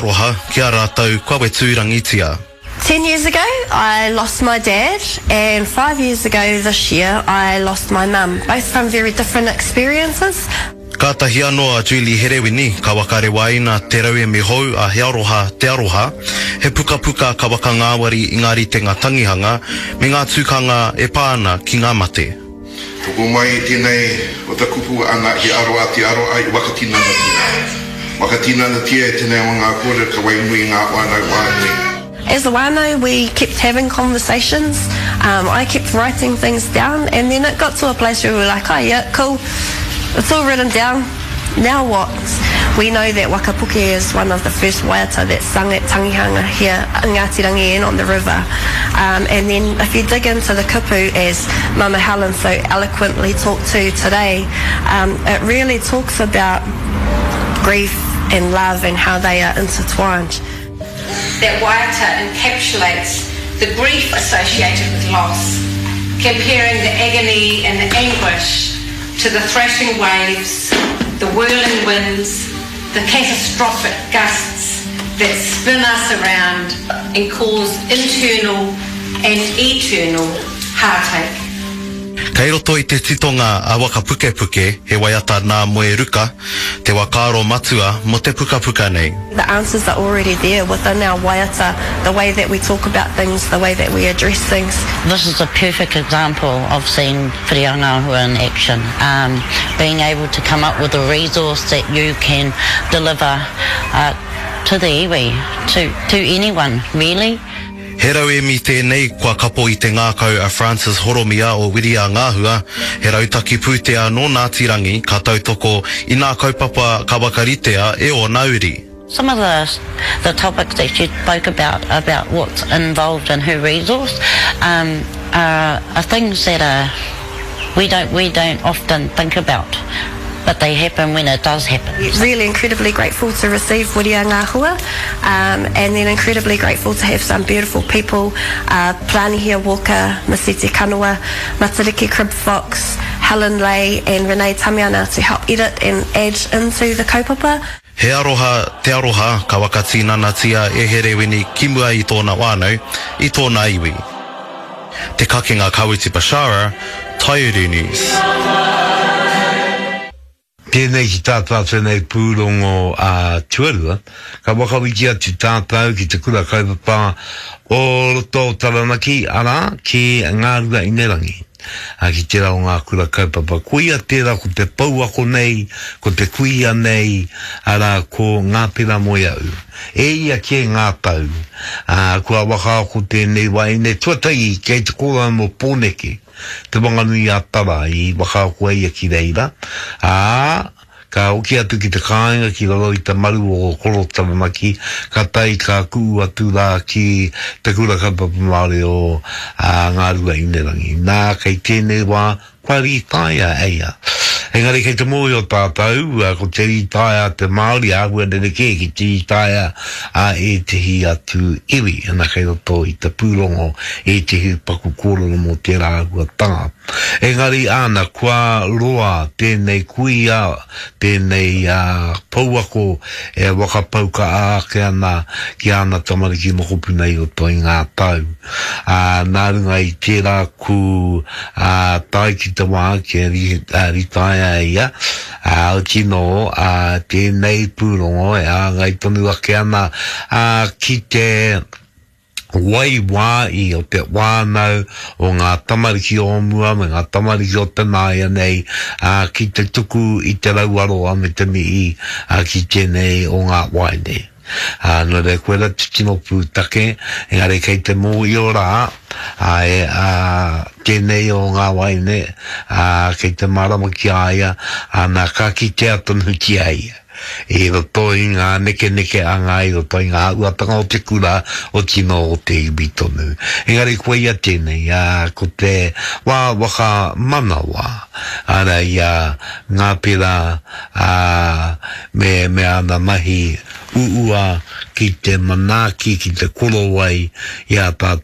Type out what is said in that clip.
Aroha ki a rātou kua whetūrangitia. Ten years ago I lost my dad and five years ago this year I lost my mum, both from very different experiences. Kātahi anō a Julie Herewini ka whakarewaina te rauemi hou a He Aroha Te Aroha, he pukapuka ka whakangāwari i ngā ritenga tangihanga me ngā tukanga e pā ana ki ngā mate. Toko mai i tenei o ta kupu ana he aroa te aroa i wakatinanatia. Wakatinanatia e tenei o nga korero ka wainui nga whanau whanui. As a whanau we kept having conversations, um, I kept writing things down and then it got to a place where we were like, oh yeah, cool, it's all written down, now what? We know that Wakapuke is one of the first waiata that's sung at tangihanga here in Ngāti Rangi and on the river. Um, and then if you dig into the kupu, as Mama Helen so eloquently talked to today, um, it really talks about grief and love and how they are intertwined. That waiata encapsulates the grief associated with loss, comparing the agony and the anguish to the thrashing waves, the whirling winds, the catastrophic gusts that spin us around and cause internal and eternal heartache. Kei roto i te titonga a Waka Pukepuke he waiata nā Moe Ruka, te whakaaro matua mō te pukapuka nei. The answers are already there within our waiata, the way that we talk about things, the way that we address things. This is a perfect example of seeing Whiriangahua in action, um, being able to come up with a resource that you can deliver uh, to the iwi, to, to anyone really. He rauemi tēnei kua kapo i te ngākau a Francis Horomia o Wiria Ngāhua, he rautaki pūtea nō Ngāti Rangi ka tautoko i nā kaupapa ka whakaritea e ōna uri. Some of the the topics that she spoke about, about what's involved in her resource, um, are, are things that are, we don't, we don't often think about. But they happen when it does happen. Really incredibly grateful to receive Wiria Ngāhua um, and then incredibly grateful to have some beautiful people, uh, Planihia Walker, Masiti Kanawa, Matariki Crib Fox, Helen Lay and Renee Tamiana to help edit and add into the kaupapa. He aroha te aroha ka whakatinanatia e Herewini ki mua i tōna whānau, i tōna iwi. Te Kakenga Kawiti Bashara, Taiuru News. Tēnei ki tā tātou nei pūrongo a tuarua, ka whakawhiti atu tātou ki te kura kaupapa o roto o Taranaki, arā, ki Ngāruaīnerangi, ki tērā o ngā kura kaupapa. Koia tērā ko te pouako nei, ko te kuia nei, arā, ko Ngāpera Moeau. E ia kē ngā tau, ā, kua whakaako tēnei wahine tuatahi kei te kōrero mō Pōneke, Te Wanganui-a-Tara i whakaako ai ia ki reira, ā, ka hoki atu ki te kāinga ki raro i te maru o Koro Taranaki, ka tae ka ku'u atu rā ki Te Kura Kaupapa Māori o Ngāruaīnerangi. Nā, kei tēnei wā, Kua rītaia e ia. Engari kei te mōhio tātou, ko te rītaia a te Māori āhua rerekē ki te rītaia a ētehi atu iwi. Ana kei roto i te pūrongo ētehi paku kōrero mō tērā āhuatanga. Engari āna, kua roa tēnei kuia, tēnei pouako e whakapau kaha ake ana ki āna tamariki mokopuna i roto i ngā tau. Ā, nā runga i tērā ku, ā, tae ki te wā kia ritaia ia, ā, oti nō, ā, tēnei pūrongo e hāngai tonu ake ana, ā, ki te waiwāi o te whānau, o ngā tamariki o mua me ngā tamariki o te nāianei, ā, ki te tuku i te rauaroa me te mihi, ā, ki tēnei o ngā waeine. Ā, nō reira, koirā te tino pūtake, engari kei te mōhio rā, āe, ā, tēnei o ngā wāhine, ā, kei te mārama ki a ia, ā, nā, ka kitea tonutia ia i roto i ngā nekenekeanga, i roto i ngā āhuatanga o te kura, o tino o te iwi tonu. Engari koia tēnei, ā, ko te wā whakamanawa, arā, i a Ngāpera, ā, me, me āna mahi uua ki te manaaki, ki te korowai i a tātou.